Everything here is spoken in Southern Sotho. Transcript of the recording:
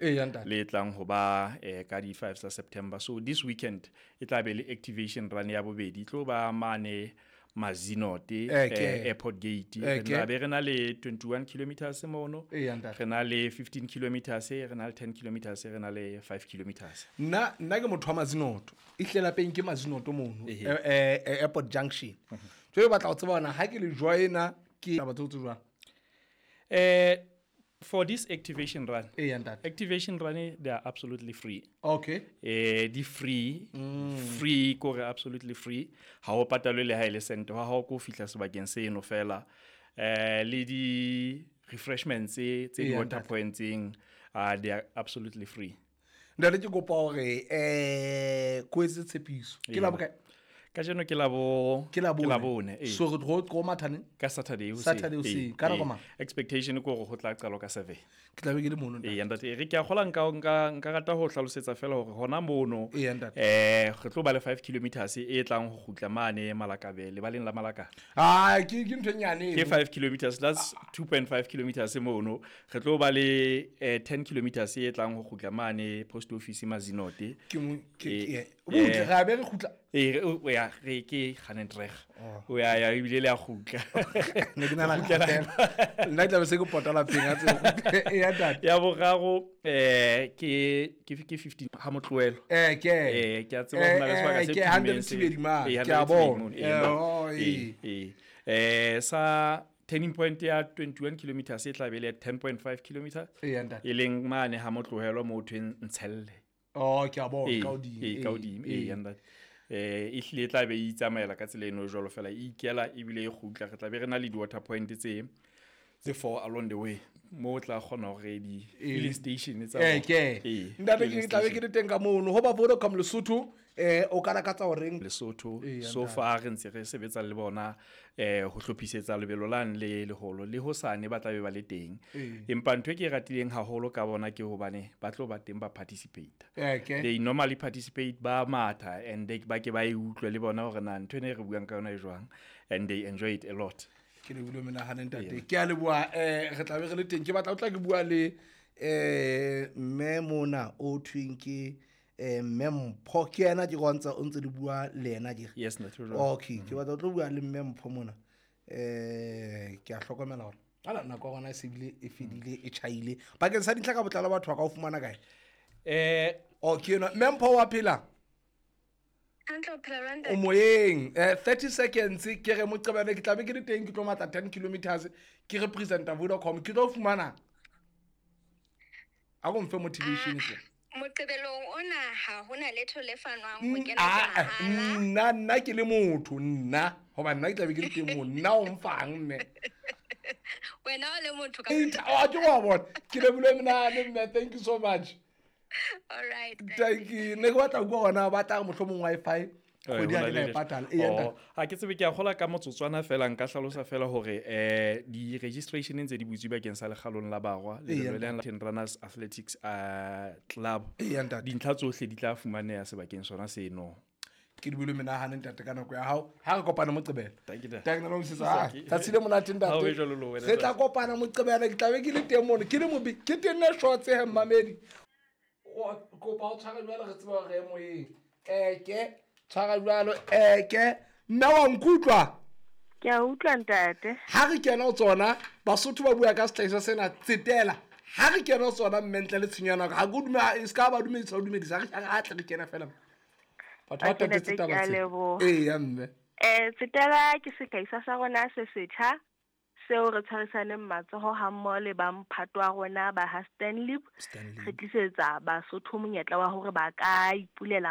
Eya, ntate. Le tlang ho ba ka di 5 tsa September. So this weekend e tla be le activation run ya bobedi, e tlo ba mane Mazinote, airport gate. Re tla be re na le 21 kilometers mono, re na le 15 kilometers, re na le 10 kilometers, re na le 5 kilometers. Nna ke motho wa Mazinoto, e hle lapeng ke Mazinoto mono, airport junction. Jwale ke batla ho tseba hore ha ke le joina ke taba tseo tse jwang? For this activation run, Eya, ntate. activation run, they are absolutely free. Di free, free kore absolutely free. Ha o patalwe le ha e le cent, ha ho ko fihla sebakeng seno fela. Le di refreshments tse di water pointseng, they are absolutely free. Ntate, ke kopa hore ko etse tshepiso. Ke la bokae? Kajeno ke la bo, Ke la ke la bone. bone, ee. So re tlo matha neng? Ka Saturday hoseng. Saturday hoseng. Ee, Ka nako ee. mang? Expectation ke hore ho tla qalwa ka 7. Ke tla be ke le mono, ntate. Ee, ntate, re ke a kgola nka rata ho hlalosetsa fela hore hona mono, Ee, ntate. re tlo ba le 5 kilometers e tlang ho kgutla mane Malakabe, lebaleng la Malakabe. Ah, ke ntho e nyane Ke eno. 5 kilometers, that's 2.5 kilometers mono. Re tlo ba le 10 kilometers e tlang ho kgutla mane post office Mazinote. Ke mo, ke, Ee, ke, butle, re a be re kgutla. Ee, re, o, ya, re ke Ganentreg. O ya, ya, ebile le a kgutla. Ne ke nahana Kgutlela. fela. Nna ke tla be se ke pota lapeng, a tsebe. Eya, ntate. Ya boraro, ke 15 ha motlohelo. Ke. Ke a tseba ho na le sebaka se Ke tummeng se. hundred Thibedi mane. Ee, Ke a hundred bona. Thibedi mono. Ee, Oh, ee, ee. ee. Sa turning point ya 21 kilometers e tla be le 10.5 kilometers. Eya, ntate. E leng mane ha motlohelo mo thweng Ntshelle. Oh, ke a bona, Ee, ka hodimo. ee, ka hodimo. Ee, Ee. ntate. E hlile e tla be e itsamaela ka tsela eno jwalo fela, e ikela ebile e kgutla. Re tla be re na le di-water point tse 4 along the way, mo o tla kgona hore di Ee. filling station tsa Ee, bona. ke. Ee, Ntate, filling ke tla be ke station. le teng ka mono. Ho ba Vodacom Lesotho, o ka lakatsa horeng? Lesotho, Ee, so ntate. far re ntse re sebetsa le bona, ho hlophisetsa lebelo lane le leholo, le hosane ba tla be ba le teng. Ee. Empa ntho e ke e ratileng haholo ka bona ke hobane ba tlo ba teng ba participate. Ee, ke. They normally participate, ba matha, and they ba ke ba e utlwe le bona hore na ntho ena e re buang ka yona e jwang, and they enjoy it a lot. Ke lebohile menahano, ntate. Ee. Ke a leboha, re tla be re le teng. Ke batla ho tla ke bua le, mme mona o thweng ke, mme Mpho. Ke yena ke go ntse o ntse le bua le yena ke re? Yes, ntate, o jwalo. Okay, ke batla ho tlo bua le mme Mpho mona. Ke a hlokomela hore ala nako ya rona e se bile e fedile, e tjhaile. Bakeng sa dintlha ka botlalo batho ba ka o fumana kae? Oh, ke enwa. Mme Mpho wa phela? Hantle, o phela jwang, O ntate? moyeng. 30 seconds ke re Moqebelo ke tla be ke le teng, ke tlo matla 10 kilometers, ke representa Vodacom, ke tlo fumana. A go mfe motivation hle. Moqebelong ona ha hona letho le fanwang ho kena ke mahala. Nna ke le motho, nna, hoba nna ke tla be ke le teng moo, nna o mfang mme. Wena o le motho ka Eight, oh, ke wa bona. Ke lebohile menahano, mme, thank you so much. All right, thank Thank you. Ne ke batla ho bua hona, ba tla re mohlomong Wi-Fi kgwedi ha Hona ke na le e patala. Ee, Oh, ntate. ha ke tsebe, ke a kgola ka motsotswana fela, nka hlalosa fela hore, di-registration ntse di butswe bakeng sa Lekgalong la Barwa, le Ee, le ntate. Ten Runners Athletics, Club. Ee, ntate. Dintlha tsohle di tla fumaneha sebakeng sona seno. Ke di buile menahano, ntate, ka nako ya hao. Ha re kopane Moqebelo. Thank you, ntate. Thank you, ntate. Thank you. Tsatsi le monate, ntate. Ha o be jwalo le wena, Re tla ntate. kopana Moqebelo, ke tla be ke le teng mono, ke le mobe, ke tenne shorts he, mmamedi. O kopa o tshware jwalo, re tsebe hore re moyeng. Ke tshwara jwalo, ke mme wa nkutlwa? Ke a utlwa, ntate. Ha re kena ho tsona, Basotho ba bua ka sehlahiswa sena, tsetela. Ha re kena ho tsona, mme ntle le tshenyo ya nako, ha ke o dumela, e ska ba dumedisa, o dumedisa, ha re, ha tle re kena fela. Batho ba Okay, tatetse ntate, taba ke a tsena. leboha. Ee, ya mme. Tsetela ke sehlahiswa sa rona se setjha seo re tshwarisaneng matsoho ha mmoho le ba mphato wa rona ba ha Stanlib. Stanlib. Re tlisetsa Basotho monyetla wa hore ba ka ipulela